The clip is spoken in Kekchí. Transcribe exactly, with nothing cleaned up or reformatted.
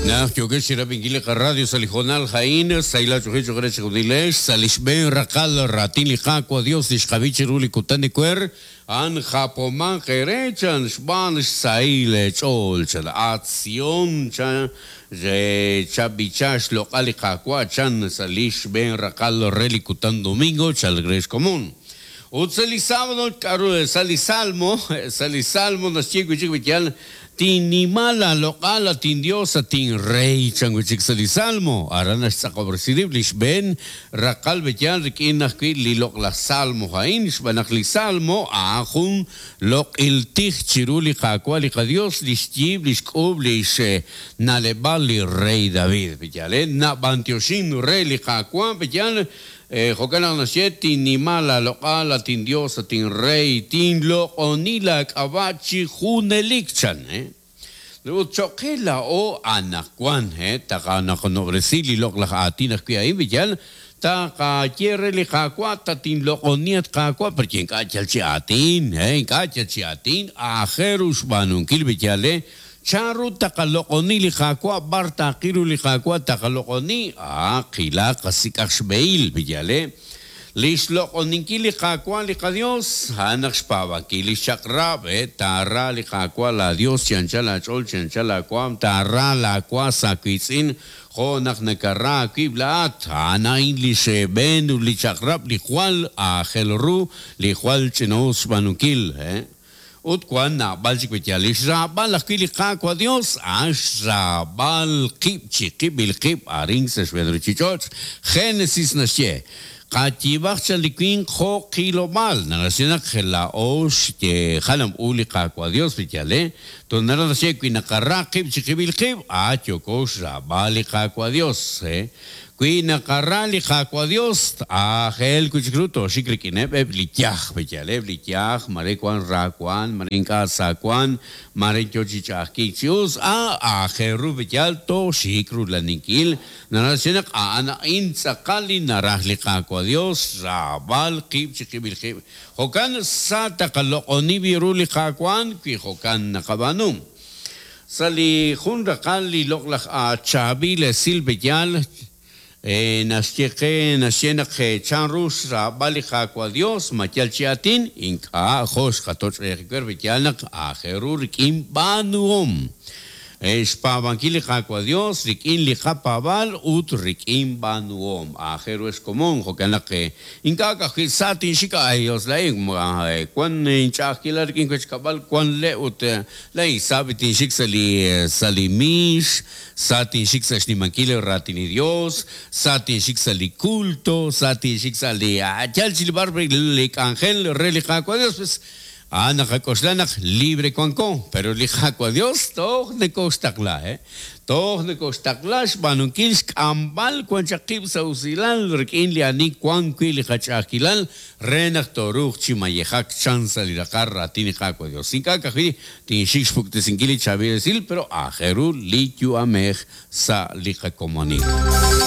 Naq yokex chirab'inkil li qaradio sa' li hoonal a'in, sahil ach'oolej cho'q re chixjunilex, sa' li xb'een raqal raatin li Qaawa' Dios li xqab'i chiru li kutan ewer, a'an japomaq eere chan xb'aan xsahil eech'ool chan Atzion chan chab'icha xloq'al li Qaawa' chan sa' li xb'een raqal re li kutan domingo chalk re xkomon. Ut sa' li sábado k'aru sa' li salmo, sa' li salmo naxye wi' chik b'iyal tinnima la loq'al tin Dios tin rey chan wi' chik sa' li salmo. Aran naxtz'aqob'resi rib' li xb'een raqal b'iyal rik'in ajwi' li loq'laj salmo a'in xb'aan naq li salmo a'an jun loq'il tij chiru li Qaawa' li qaDios li xyiib' li xk'uub' li xna'leb'al li rey David b'iyal eh nab'antioxin re li Qaawa' b'iyal jo'kan naq naxye tinnima la loq'al tin Dios tin rey tinloq'oni la k'ab'a' chi junelik chan eh ut cho'qe la'o anaqwan eh taqanaqonobresi li loq'laj aatin ajwi' a'in b'iyal taqaye re li Qaawa' tatinloq'oni at Qaawa' porque ink'a' yal chi aatin eh ink'a' yal chi aatin aajel ru xb'aanunkil b'iyal eh chanru taqaloq'oni li Qaawa' bar taqiru li Qaawa' taqaloq'oni ah qilaq qasik'aq xb'ehil b'iyal eh li xloq'oninkil li Qaawa' li qaDios a'an naq xpaab'ankil li xchaq'rab' eh taara li Qaawa' la Dios chi anchal aach'ool chi anchal aawaam taara laawa sa wiitz'in jo' naq nakara aawib' laat a'an a'in li xb'een ut li chaq'rab' li jwal aajel ru li jwal ch'ina'us xb'aanunkil eh ut wan naab'al chik b'iyal li xraab'al ajwi' li Qaawa' Dios a'an xraab'al qib' chi qib'il qib' arin sa' xb'een ruuchich'och' Génesis naxye qayiib'aq chan li winq jo' qilob'aal naxye naq la'o xye jalam u li Qaawa' Dios b'iyal eh ton nara naxye wi naqara qib' chi qib'il qib' a yoko xraab'al li Qaawa' Dios eh wi naqara li Qaawa' Dios aajel wi' chik ru toxik rik'ineb' eb' li yaj b'iyal eb' li yaj mare wan ra wan mare ink'a' sa wan mare yo chi ch'a'ajkiik chi us a aajel ru b'iyal toxik rulaninkil naxye naq a'an a'in tz'aqal li naraj li Qaawa' Dios raab'al qib' chi qib'il qib' jo'kan sa taqaloq'oni b'i ru li Qaawa' wi jo'kan naqab'aanu sa' li jun raqal li loq'laj achaab'il esil b'iyal naxye qe naxye naq chanru xraab'al li Qaawa' Dios ma yal chi aatin ink'a' jo' xqatoch' eejiwer b'iyal naq aajel ru rik'in b'aanuhom xpaab'ankil li Qaawa' Dios rik'in li qapaab'al ut rik'in b'aanuhom aajel ru xkomon jo'kan naq ink'a' ka'ajwi' sa tinxik ay Dios la'in wan inch'a'ajkilal rik'in wechkab'al wan le' ut la'in sa tinxik sa' li sa' li miix sa tinxik sa' xnimankil raatin li Dios sa tinxik sa' li culto sa tinxik sa' li yal chi li bar li k'anjel re li Qaawa' Dios pues ah naqak'oxla naq libre wanko pero li Qaawa' Dios toj nekoxtaqla eh toj nekoxtaqla xb'aanunkil xk'amb'al wan chaq qib' sa' usilal rik'in li ani wan wi' li qach'a'ajkilal re naq toruuq chi mayejak chan sa' li raqal raatin li Qaawa' Dios ink'a' ka'ajwi' tinxik xpuktesinkil li chaab'il esil pero aajel ru li yu'amej sa' li qakomonil.